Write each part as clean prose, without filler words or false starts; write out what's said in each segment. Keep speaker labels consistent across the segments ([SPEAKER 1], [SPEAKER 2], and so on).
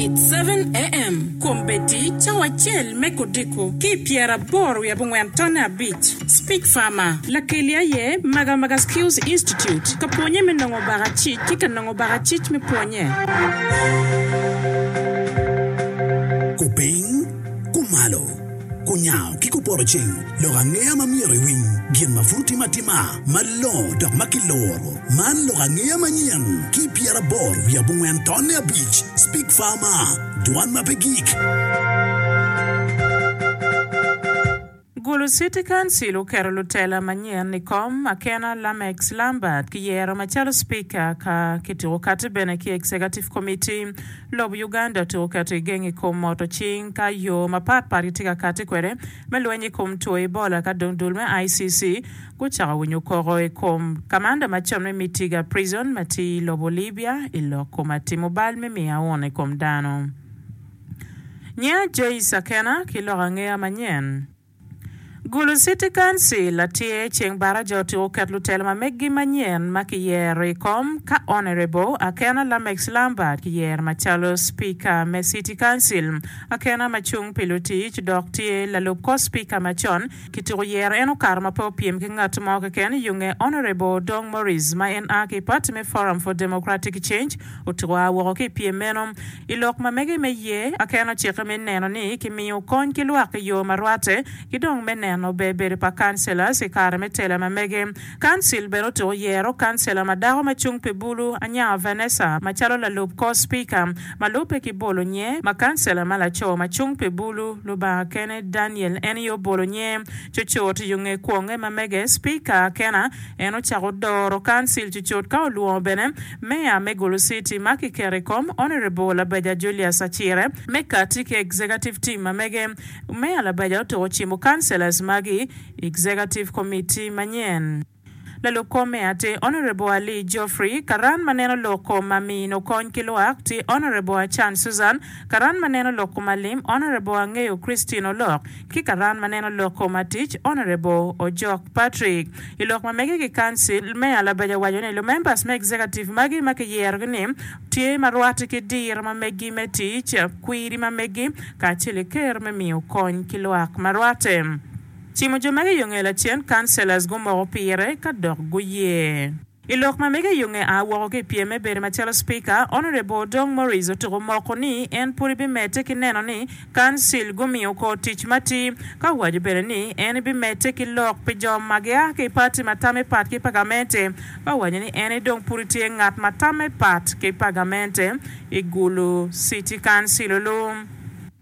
[SPEAKER 1] It's 7am, Kombeddi cawa acel me kodiko ki i pyeraboro wiye abongwen tonne abic. Speech Farmer, Lakeli aye Magamaga Skills Institute ka pwonye me nongo bakacic ki ka nongo bakacic me pwonye.
[SPEAKER 2] Kupiny, kumalo, kunyango ki kupoto ceng, lok angeya ma myero iwiny, gin ma pud otim atima, malongo dok ma kiluro. Man lok angeya manyen ki 84 tonne abic, Speak Farmer, dwan ma pe gik.
[SPEAKER 3] Gulu City Council oketo lutela manyen i kom, Akena Lamex Lambert kiyero macalo Speaker ka kituko kati bene ki Executive Committee. Lobo Uganda otuko keto igeng i kom moto cing ka yo mapat pat gitye ka kati kwede me lweny i kom two Ebola ka dong dul me ICC gucako winyo koko i kom kamanda macon me Mitiga Prison ma tye i lobo Libya i lok kom atimo bal me miyo aun i kom dano. Nyinga Joyce Akena ki lok angeya manyen. Gulu City Council atye ceng baraja otyeko keto lutelo ma meggi manyen ma kiyero i kom ka Honourable Akena Lamex Lambert kiyero macalo Speaker me City Council. Akena ma cung pi lutic dok tye lalub kor Speaker macon Kituko yero en okato ma pe opyem ki ngat mo keken i yo nge Honourable Odong Maurice ma en a ki i party me Forum for Democratic Change otuko a woko ki i pyem meno. I lok ma mege me ye, Aken ocikke me neno ni kimiyo kony ki lwak i yo ma rwatte ki dong me neno ber bedo pa councillors i kare me tela ma mege. Council bene otuko yero kancela ma dako ma cung pi bulu Anyaka Vanessa macalo lalub kor Speaker ma lubbe ki bolo nye ma kancela ma laco ma cung pi bulu Lubanga kene Daniel en aye obolo nye cucut yo nge kwonge ma mege Speaker Akena en ocako doro kancil cucut ka olwongo bene Meya me Gulu City ma kiketo i kom Honourable Labeja Julius Acire me kati ki Executive Team ma mege. Meya Labeja otuko cimo kancelors magi Executive Committee manyen. Lalub kor me atir Honourable Ali Geoffrey, Karan ma neno lok kom amino kony ki lwak tye Honourable Achan Susan, Karan ma neno lok kom alim Honourable Angeyo Christine Olok ki Karan ma neno lok kom atic Honourable Ojok Patrick. I lok ma mege ki Council, Meya Labeja owaco ni lumembers me Executive magi ma kiyerogi ni tye ma rwate ki diro ma megi me tic, kwiri ma megi kacel ki kero me miyo kony ki lwak ma rwate. Cimo jo magi i yo nge lacen, councillors gumoko pire ka dok guye. I lok ma mege i yo nge a woko ki i pyem me bedo macalo Speaker, Honourable Odong Maurice otuko moko ni en pud ebimedde ki neno ni Council gumiyo kor tic matir, ka owaco bene ni en ebimedde ki lok pi jo ma gia ki i party ma tame pat ki pa gamente, ka owaco ni en dong pud etye ngat ma tame pat ki pa gamente i Gulu City Council olu.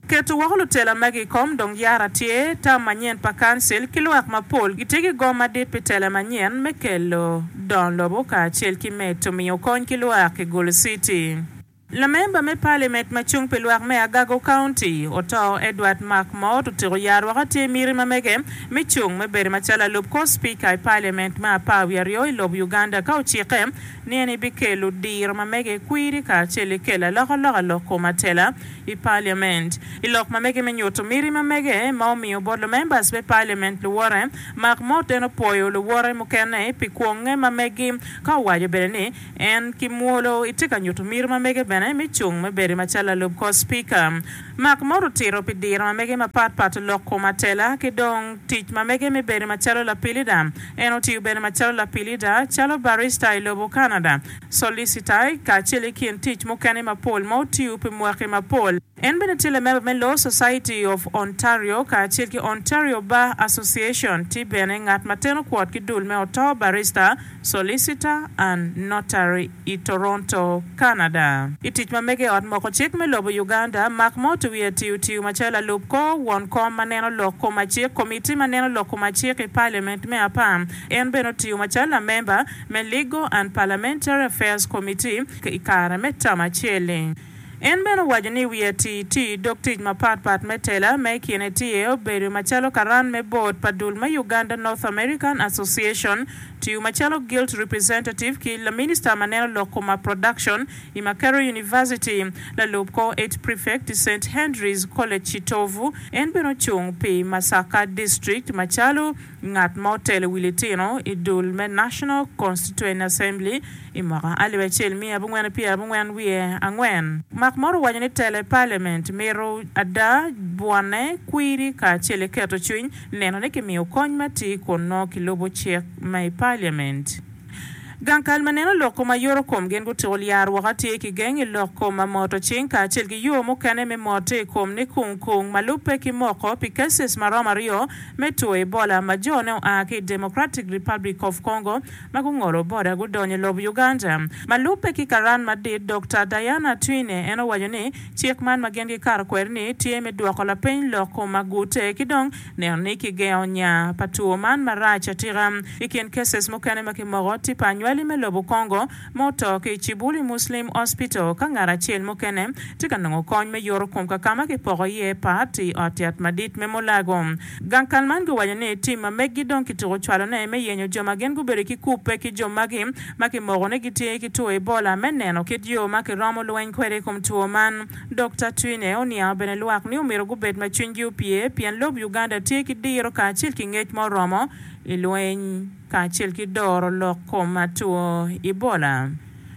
[SPEAKER 3] Keto woko lutela magi i kom dong yara tye, tam manyen pa kancil ki lwak mapol gitye ki gom madit pi tela manyen me kelo dongo lobo kacel ki medo miyo kony ki lwak i Gulu City. Lamemba me Palimet ma cung pi lwak me Agago County, Oto Edward Mark Mot otiko yar woko tye miti ma mege me cung me bedo macalo lalub kor Spika i Paliament me apar wiye aryo i lobo Uganda ka ocikke ni en ebikelo diro ma mege kwiri kacel ki kelo alokaloka lok kom atela i Parliament. I lok ma mege me nyuto miti ma mege ma omiyo bot lumembers me Parliament luwote, Mark Mot en opwoyo luwote mukene pi kwonge ma megi ka owaco bene ni en ki mwolo etye ka nyuto miti ma mege bene me cung me bedo macalo lalub kor Speaker. Mark Mot otito pi diro ma mege mapat pat lok kom atela ki dong tic ma mege me bedo macalo lapilida. En otiyo bene macalo lapilida, calo barista i lobo Canada. Solicitor, kacel i kin tic mukene mapol ma otiyo pi mwaki mapol. En bene tye lamemba me Law Society of Ontario kacel ki Ontario Bar Association. Tye bene ngat ma teno kwot ki dul me Oto Barrister, Solicitor and Notary i Toronto, Canada. I tic ma mege i ot moko cik me lobo Uganda, Mark Mott wiye tiyo tiyo macalo lalub kor won kom ma neno lok kom acik, Komiti ma neno lok kom acik i Parliament me apar. En bene otiyo macalo lamemba me Legal and Parliamentary Affairs Committee i kare me term acel-li. En bene owaco ni wiye atir tiyo i dog tic mapat pat me tela ma i kine tye obedo macalo karan me board pa dul me Uganda North American Association. Tiyo macalo Guild Representative ki Laminista ma neno lok koma Production i Makerere University. Lalub kor Eight Prefect i Saint Henry's College Kitovu. En bene ocung pi Masaka District macalo ngat ma otelo wi litino i dul me National Constituent Assembly i mwaka 1994. Mak moro owaco ni telo i Parliament mito ada bwone, kwiri kacel ki keto cwiny neno ni kimiyo kony matir kun nongo kilubo cik ma i Parliament. Gang kal ma neno lok kom ayoto kom gin gutiko lyar woko atir ki geng i lok kom amoto cing kacel ki yo mukene me mote i kom ni kung kung ma lubbe ki moko pi cases ma romo aryo me two Ebola ma jo ne oa ki i Democratic Republic of Congo ma gungolo boda gudonyo i lobo Uganda. Ma lubbe ki karan madit Dokta Diana Atwine en owaco ni cik man ma gin gikato kwede ni tye me dwoko lapeny lok kom agute ki dong Neno ni kigengo nya pa two man marac atika. I kin cases mukene ma kimoko, tye pa anywali me lobo Congo ma oto ki i Cibuli Muslim Hospital ka ngat acel mukene tye ka nongo kony me yoto kom kakama kipoko iye pat i ot yat madit me Mulago. Gang kal man giwaco ni tim ma meggi dong kituko cwalone me yenyo jo ma gin gubedo ki kubbe ki jo magi ma kimoko ni gitye ki two Ebola me neno kit yo ma kiromo lweny kwede i kom two man. Dokta Twine oniango bene lwak ni omyero gubed ma cwinygi opye pien lob Uganda tye ki diro kacel ki ngec ma oromo i lweny kacel ki doro lok kom two Ebola.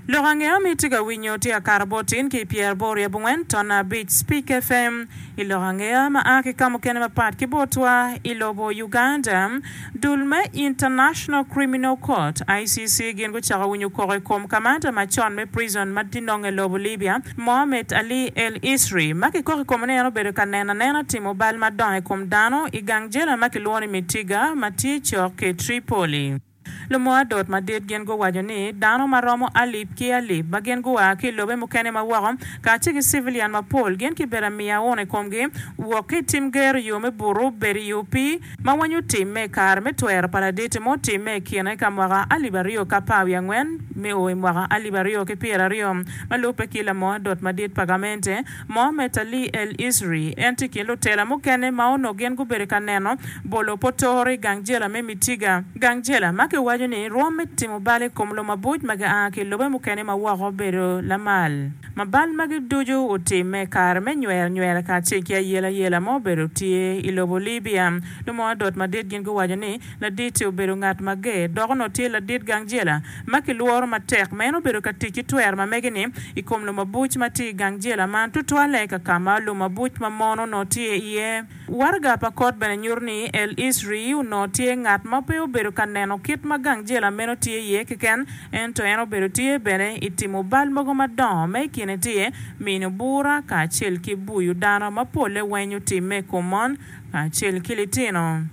[SPEAKER 3] Lok angeya ma itye ka winyo tye akato bot tin ki i pyeraboro i abongwen tonna abic Speak FM. I lok angeya ma a ki ka mukene mapat ki botwa i lobo Uganda, dul me International Criminal Court, ICC, gin gucako winyo koko i kom kamanda macon me prison ma tye nonge i lobo Libya, Mohamed Ali El Isri, ma kikoko i kome ni en obedo ka neno anena timo bal madongo i kom dano i gang jela ma kilwongo ni Mitiga ma tye cok ki Tripoli. Lumo adot madit gin guwaco ni dano ma romo alip ki alip ma gin gua ki i lobe mukene ma woko kacel ki civilian mapol gin kibedo amiya auna i komgi wok ki i tim gero i yo me buto, bedo i opii ma weny otimme i kare me twero pa laditi ma otimme i kine ka mwaka 2014 me o i mwaka 2020. Ma lubbe ki lamo adot madit pa gamente, Mohamed Ali El Isri en tye i kin lutela mukene ma onongo gin gubedo ka neno bolo potoro i gang jela me Mitiga. Gang jela ma kiwaco ni rwom me timo bal i kom lumabuc ma gia ki i lobe mukene ma woko obedo lamal. Ma bal magi ducu otimme i kare me nywero nywera kacel ki ayelayela ma obedo tye i lobo Libya. Lumo adot madit gin guwaco ni ladit-ti obedo ngat mager dok onongo tye ladit gang jela ma kilworo matek ma en obedo ka tic ki twero ma mege-ni i kom lumabuc ma tye i gang jela man, tutwalle ka ka ma lumabuc ma mon onongo tye iye. Waraga pa kot bene nyuto ni El Isri onongo tye ngat ma pe obedo ka neno kit ma gang jela meno tye iye keken, ento en obedo tye bene i timo bal mogo madongo ma i kine tye mino bura kacel ki buyo dano ma polle weny otimme i kom mon kacel ki litino.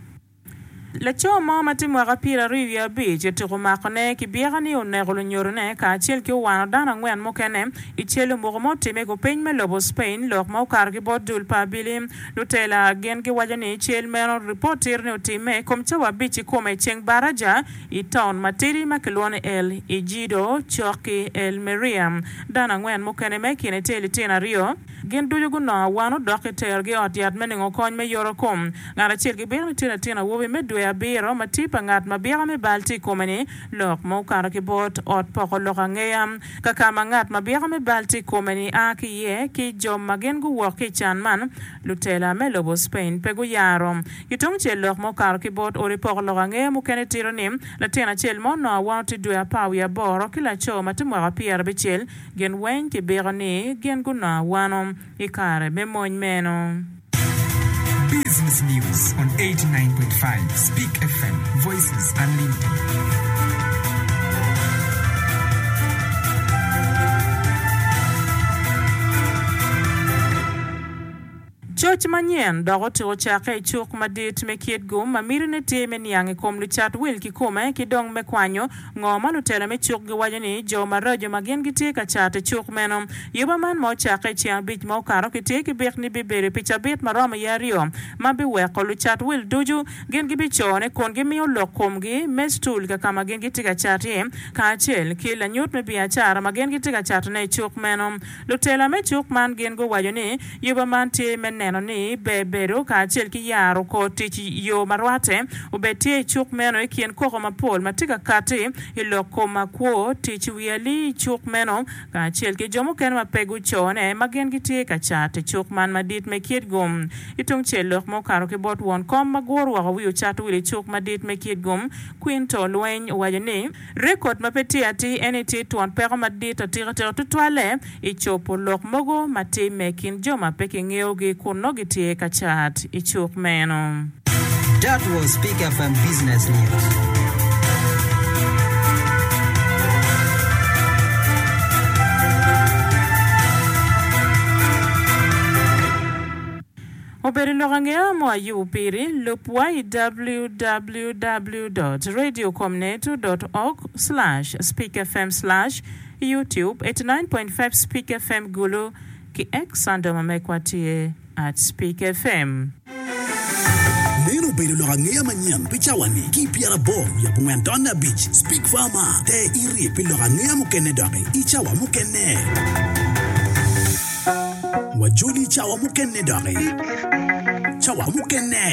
[SPEAKER 3] Laco mo ma tye mwaka 25 otuko makone ki byeka ni oneko lunyodone kacel ki owano dano angwen mukene i cel omuko ma otimme i kupiny me lobo Spain. Lok ma okato ki bot dul pa abili lutela gin giwaco ni cel meno ripot tito ni otimme i kom cawa abic kikome i ceng baraja i taun matidi ma kilwongo ni El Ejido cok ki Almeria. Dano angwen mukene ma i kine tye litino aryo. Gin ducu gunongo awano dok kiterogi i ot yat me nongo kony me yoto kom. Ngat acel gibito ni tye latin awobi me dwe abiro ma tye pa ngat ma byeka me bal tye i kome-ni. Lok ma okato ki bot ot poko lok angeya ka ka ma ngat ma byeka me bal tye i kome-ni a ki iye ki jo ma gin guwok ki i can man, lutela me lobo Spain pe guyaro. Ki tungcel lok ma okato ki bot odi poko lok angeya mukene tito ni latin acel ma onongo awano tye dwe apar wiye aboro ki laco ma tye mwaka pyerabicel Gin weng kibiko ni gin gunongo awano i kare me mony meno.
[SPEAKER 4] Business News on 89.5 Speak FM, Voices Unlimited.
[SPEAKER 3] Coc manyen dok otuko cakke i cuk madit me Kitgum ma mitine tye me niang i kom lucat wil kikome ki dong me kwanyo ngo ma lutela me cuk giwaco ni jo maraco ma gin gitye ka cat i cuk meno. Yuba man ma ocakke i ceng abic ma okato kitye ki bik ni bibedo pi cabit ma romo iye aryo ma biweko lucat wil ducu gin gibicone kun gimiyo lok komgi me stool ka ka ma gin gitye ka cat iye kacel ki lanyut me biacara ma gin gitye ka catone i cuk meno. Lutela me cuk man gin guwaco ni yuba man tye me neno. neno ni ber bedo kacel ki yaro kor tic yo ma rwatte obed tye i cuk meno i kin koko mapol ma tye ka katti i lok kom makwo tic wi alii i cuk meno kacel ki jo mukene ma pe gucone ma gin gitye ka cat i cuk man madit me Kitgum. I tung cel lok ma okato ki bot won kom ma guro woko wi ocato wil i cuk madit me Kitgum, Quinto Lweny owaco ni, Rekod ma pe tye atir eni tye twon peko madit atika tika tutwalle i cobo lok mogo ma timme i kin jo ma pe kingeyogi kun nongo gitye ka cat i cuk meno.
[SPEAKER 5] That was Peak FM Business News.
[SPEAKER 3] Obedo lok angeya mo ayubo piri, lub wa i www dot radiocomneto dot org slash speakfm slash youtube 89.5 speak fm Gulu ki X handle ma mekwa tye at speak fm.
[SPEAKER 2] Meno obedo lok angeya manyen pi cawa-ni ki i pyeraboro wiye abongwen tonne abic Speak Farmer te iri pi lok angeya mukene doki i cawa mukene. Wajoli cawa mukene doki. Cawa mukene.